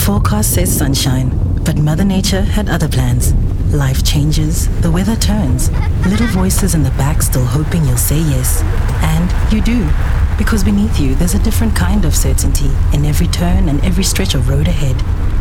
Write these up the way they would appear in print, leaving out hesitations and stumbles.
Forecast says sunshine, but Mother Nature had other plans. Life changes, the weather turns, little voices in the back still hoping you'll say yes. And you do. Because beneath you, there's a different kind of certainty in every turn and every stretch of road ahead.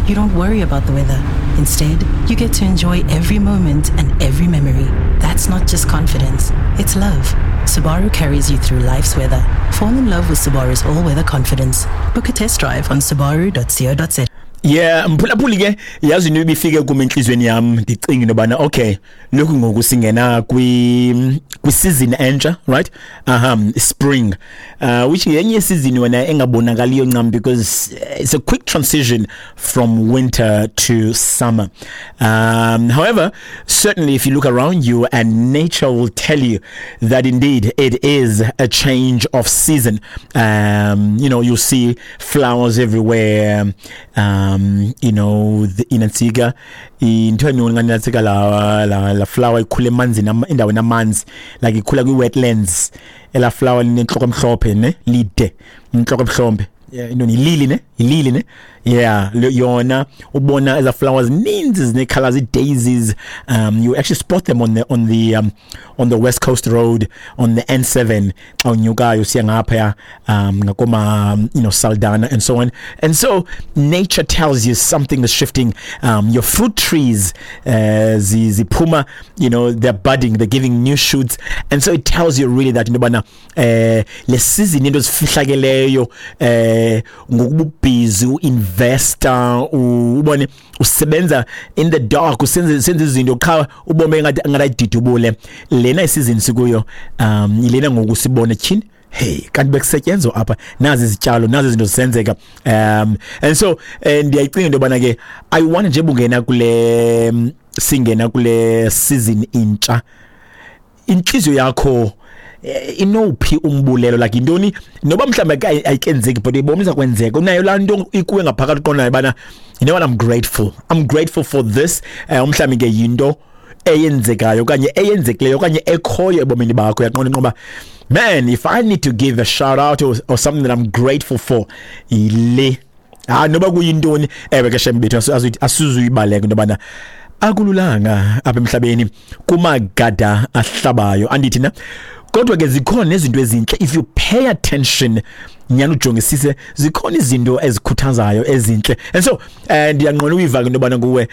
You don't worry about the weather. Instead, you get to enjoy every moment and every memory. That's not just confidence, it's love. Subaru carries you through life's weather. Fall in love with Subaru's all weather confidence. Book a test drive on subaru.co.za. Yeah, mphulaphuli ke, yazi into ibifike kum entliziyweni yam, ndicinga into yobana okay, lokhu ngoku singena kwi season entsha, right? Aha, spring, which yenye season wena engabonakaliyo ncam because it's a quick transition from winter to summer. However, certainly if you look around you and nature will tell you that indeed it is a change of season. You see flowers everywhere. The inantsika into enonganantsika la flower ikhula emanzini, endaweni amanzi, like ikhula kwi-wetlands. Ela flower linentloko emhlophe ne, lide intloko emhlophe. Yeah, into yilili ne, yilili ne. Yeah, yona ubona eza flowers ninzi zine colors, daisies. You actually spot them on the West Coast Road on the N7 xa unyukayo usiya ngaphaya ngakoma Saldanha and so on. And so nature tells you something is shifting. Your fruit trees, ziphuma, they're budding, they're giving new shoots, and so it tells you really that into yobana le season into zifihlakeleyo ngokuba busy uinvesta, ubone usebenza in the dark, usenze senze izinto qha ubone ngathi ayididubule lena isizini sikuyo. Ilena ngoku sibone tyhini, hey, kanti bekusetyenzwa apha, nazi izityalo, nazi izinto zisenzeka. And so ndiyayicinga into yobana ke I want nje bungena kule, singena kule season intsha, inhliziyo yakho inophi umbulelo, like intoni, noba mhlawumbe ayikenzeki but ibona iza kwenzeka, unayo laa nto ikuwe ngaphakathi uqondayo bana, you know what, I'm grateful, I'm grateful for this. Mhlawumbe ke yinto eyenzekayo okanye eyenzekileyo okanye ekhoyo ebomini bakho, uyaqonda inqoba, man, if I need to give a shout out or something that I'm grateful for, yile. Ah, noba kuyintoni. Ewe ke shembethu, asizuyibaleka into yobana akululanga apha emhlabeni, kumagada ahlabayo, andithi na? Kodwa ke zikhona nezinto ezintle. If you pay attention nyani, ujongisise, zikhona izinto ezikhuthazayo ezintle. And so ndiyanqona uyiva ke into yobana kuwe,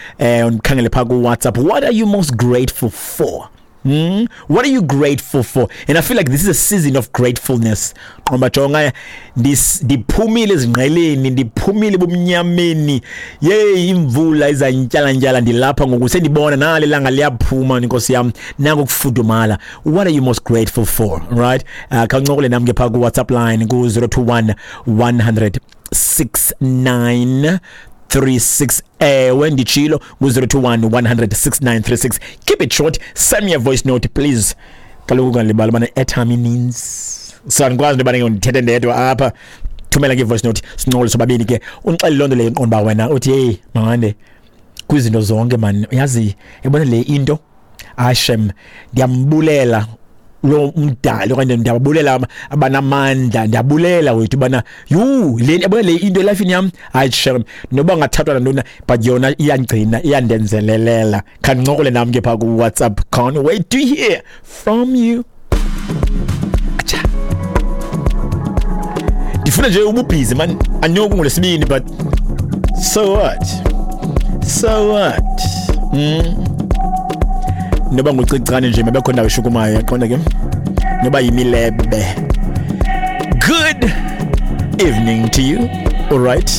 undikhangele phaa ku-WhatsApp, what are you most grateful for? What are you grateful for? And I feel like this is a season of gratefulness. Qomba jonga, ndiphumile ezingqeleni, ndiphumile ebumnyameni. Yey, imvula izantyala-ntyala, ndilapha ngoku sendibona nale langa liyaphuma, inkosi yam, nango kufudumala. What are you most grateful for? Right? Khawuncokole nam ke phaa ku WhatsApp line ku 021 100 69 36. Ewe, nditshilo ku-021 100 6936. Keep it short, send me a voice note, please. Kaloku ungalibali ubana airtime ininzi, so andikwazi into yobana ke ndithethe ndedwa apha. Thumela ke i-voice note, sincokole sobabini ke, undixelele loo nto leyo iqonda uba wena uthi, "Hey mawande, kwizinto zonke man, yazi yabona le into, ashem, ndiyambulela lo umdali okanye ndiyababulela abanamandla, ndiyabulela wethu ubana yhu, le yabona le into elifini yam, hayi shem, noba ngathathwa nantoni, but yona iyangcina, iyandenzelelela." Khandincokole nam ke phaa ku-WhatsApp. Can't wait to hear from you. Acha. Ndifuna nje ububhizi man, anyoku ngolwesibini, but so what, so what? Noba ngucicane nje, mabekho ndawo eshukumayo, yaqonda ke, noba yimilebe. Good evening to you. All right.